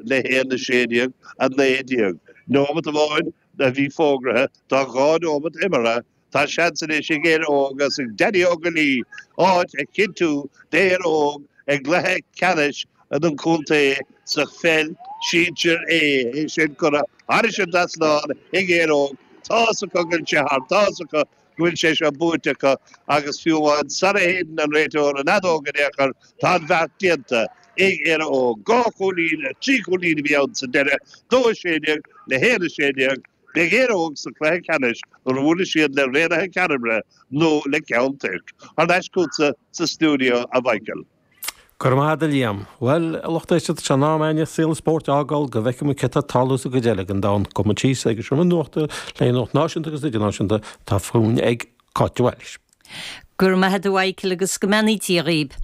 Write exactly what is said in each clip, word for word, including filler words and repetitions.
le haon a sé déag, a naoi déag. Nóimeat amháin a bhí fógraithe, tá dhá nóimeat imeartha, tá seans anois ag Éire Óg agus ag Danny Ó Goillí áit a chinntiú d'Éire Óg i gcluiche ceannais an chontae sa pheil sinsir A. É sin curtha thairis an trasnán ag Éire Óg. Tá's acu go bhfuil sé thart, tá's acu go bhfuil sé seo buaite acu agus fiú amháin sara shéideann an réiteoir an fheadóg in aon chor, tá an bheart déanta ag Éire Óg. Dhá chúilín, trí chúilín a bhí ann sa deireadh, dó a sé déag le haon a sé déag. Beidh Éire Óg sa chluiche ceannais nuair a bhuailfidh siad le Raonaithe Ceannamre nó le Ceann Toirc. Thar n-ais chugatsa sa stiúideo, a Mhichael. Go raibh maith agat a Liam. Bhuel, a lucht éisteachta, tá sé in am againne saol an spóirt a fhágáil go bhfeicfidh muid céard atá ag tarlú sa gcuid eile den domhan. Gabhfaidh muid síos ag an seomra nuachta le nuacht náisiúnta agus idirnáisiúnta atá fúinn ag Cáit de Bhailís. Go raibh maith agat a Mhichael agus go mbeannaí Dia dhaoib.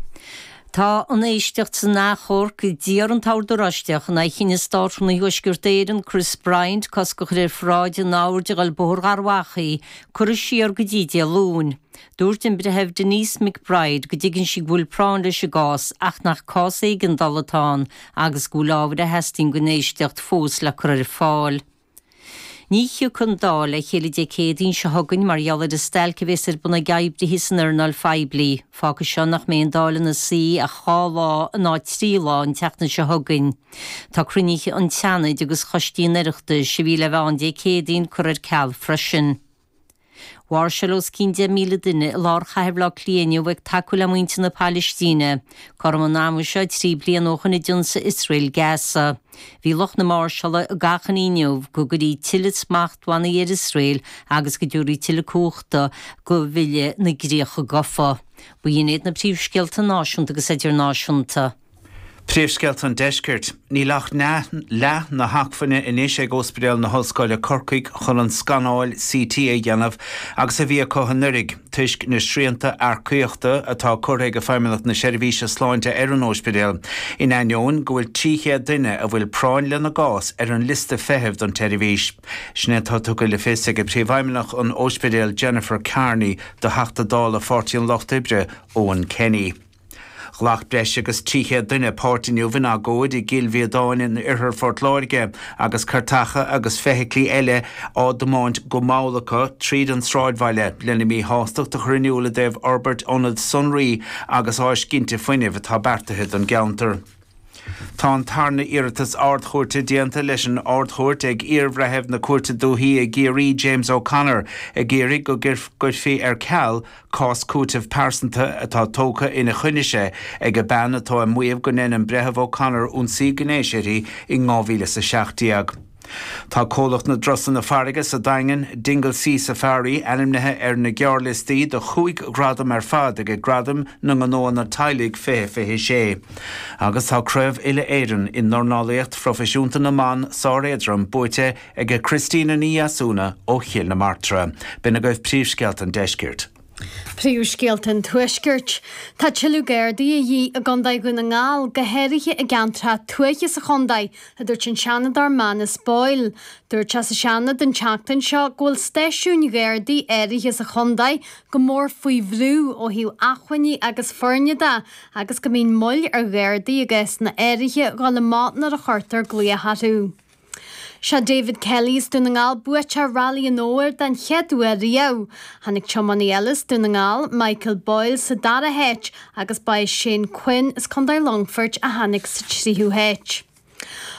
Tá an éisteacht san achomharc a d'iarr an tOrd Oráisteach in aghaidh chinneadh Státrúnaí Thuaisceart Éireann Chris Bryant cosc a chur ar pharáid in áirde a dhul Bóthar Gharbh Achaidh curtha siar go dtí Dé Luain. Dúirt an Breitheamh Denise McBride go dtuigeann sí go bhfuil práinn leis an gcás ach nach cás éigeandála atá ann agus go bhfuil ábhair a theastaíonn don éisteacht fós le cur ar fáil. Ní thiocfaidh an Dáil le chéile Dé Céadaoin seo chugainn mar gheall ar an stailc a bheas ar bun ag oibrithe san earnáil phoiblí. Fágfaidh seo nach mbeidh an Dáil ina suí ach dhá lá in áit trí lá an tseachtain seo chugainn. Tá cruinnithe an tSeanaid agus choistí an Oireachtais a bhí le bheith ann Dé Céadaoin curtha ar ceal freisin. Mháirseáil os cionn deich míle duine i lár chathair Bhaile Átha Cliath inniu ag tacú le muintir na Palaistíne. Cothrom an ama seo trí bliana ó shin a d'ionsaigh Iosrael Gaza. Bhí lucht na máirseála ag achainí inniu go gcuirfí tuilleadh smachtbhannaí ar Iosrael agus go dtabharfaí tuilleadh cumhachta do Bhille na gCríocha Gafa. B'in iad na príomhscéalta náisiúnta agus idirnáisiúnta. Príomhscéalta an Deiscirt. Níl ach leath na hacmhainne anois ag Ospidéal na hOllscoile Corcaigh chun an scanáil CT a dhéanamh agus a bhí acu anuraidh, toisc na srianta earcaíochta atá curtha ag Feidhmeannacht na Seirbhíse Sláinte ar an ospidéal, in ainneoin go bhfuil trí chéad duine a bhfuil práinn lena gcás ar an liosta feithimh don tseirbhís. Sin é atá tugtha le fios ag Príomhfheidhmeannach an Ospidéil Jennifer Carney do Theachta Dála Pháirtí an Lucht Oibre Eoin Kenny. Ghlac breis agus trí chéad duine páirt inniu in agóid i gCill Mhíodáin in oirthear Phort Láirge agus cairteacha agus feithiclí eile á dtiomáint go mall acu tríd an sráidbhaile lena míshástacht a chur in iúl i dtaobh fhorbairt ionad sonraí agus áis ginte fuinnimh atá beartaithe don gceantar. Tá an tarna iarratas Ard-Chúirte déanta leis an Ard-Chúirt ag iarbhreitheamh na Cúirte Dúiche i gCiarraí James O'Connor ag iarraidh go gcuirfí ar ceal cás cúitimh pearsanta atá tógtha ina choinne-se ag bean atá ag maíomh go ndein an Breitheamh O'Connor ionsaí gnéis uirthi in dhá mhíle is a seacht déag. Tá comhlacht na dturasanna farraige sa Daingean, Dingle Sea Safari, ainmnithe ar na gearrliostaí do chúig ghradam ar fad ag Gradaim na nGnóanna Teaghlaigh fiche fiche sé. Agus tá Craobh Uile-Éireann i ndornálaíocht phroifisiúnta na mban sár-éadrom buaite ag Christina Ní Dheasúna ó Chill na Martra. B'in agaibh príomhscéalta an deiscirt. Príomhscéalta an Tuaiscirt. Tá tuilleadh Gardaí a dhíth i gContae Dhún na nGall, go háirithe i gceantracha tuaithe sa chontae, a dúirt an Seanadóir Manus Boyle. Dúirt sé sa Seanad an tseachtain seo go bhfuil stáisiúin Ghardaí áirithe sa chontae go mór faoi bhrú ó thaobh acmhainní agus foirne de agus go mbíonn moill ar Ghardaí i gcásanna áirithe dhul amach nuair a chuirtear glaoch orthu. Sé David Kelly as Dún na nGall buaiteoir Railí an Fhómhair den chéad uair riamh. Tháinig tiománaí eile as Dún na nGall, Michael Boyle, sa dara háit agus ba é Shane Quinn as Contae Longfoirt a tháinig sa tríú háit.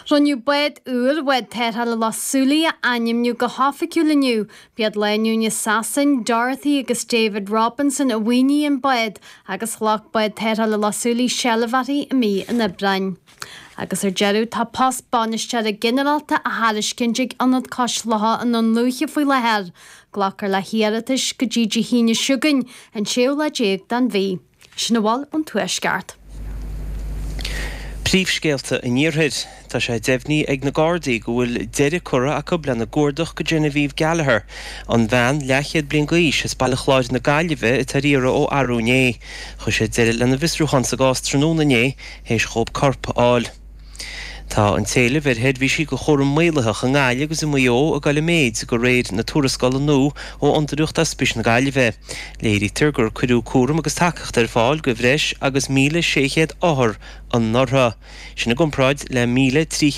Rinneadh bád úr Bhád Tarrthála Loch Súilí a ainmniú go hoifigiúil inniu. B'iad lánúin i Sasain, Dorothy agus David Robinson a mhaoinigh an bád agus ghlac Bád Tarrthála Loch Súilí seilbh uirthi i mí an Aibreáin. Agus ar deireadh, tá post bainisteora ginearálta á thairiscint ag Ionad Cois Locha i nDún Lúiche faoi láthair. Glacfar le hiarratais go dtí Dé hAoine seo chugainn, an séú lá déag den mhí. Sin a bhfuil ón Tuaisceart. Príomhscéalta an Iarthair. Tá sé deimhnithe ag na Gardaí go bhfuil deireadh curtha acu lena gcuardach go Genevieve Gallagher, an bhean leathchéad bliain d'aois as Baile Chláir na Gaillimhe atá ar iarraidh ó arú inné. Chuir siad deireadh lena bhfiosrúchán sa gcás tráthnóna inné théis dhóibh corp a fháil. Tá an t-éileamh ar sheirbhísí de chúram maolaitheach i nGaillimh agus i Maigh Eo ag dul i méid de réir na tuarascála nua ó Fhondúireacht Ospís na Gaillimhe. Léirítear gur cuireadh cúram agus tacaíocht ar fáil do bhreis agus míle sé chéad othar anuraidh. Sin i gcomparáid le míle trí chéad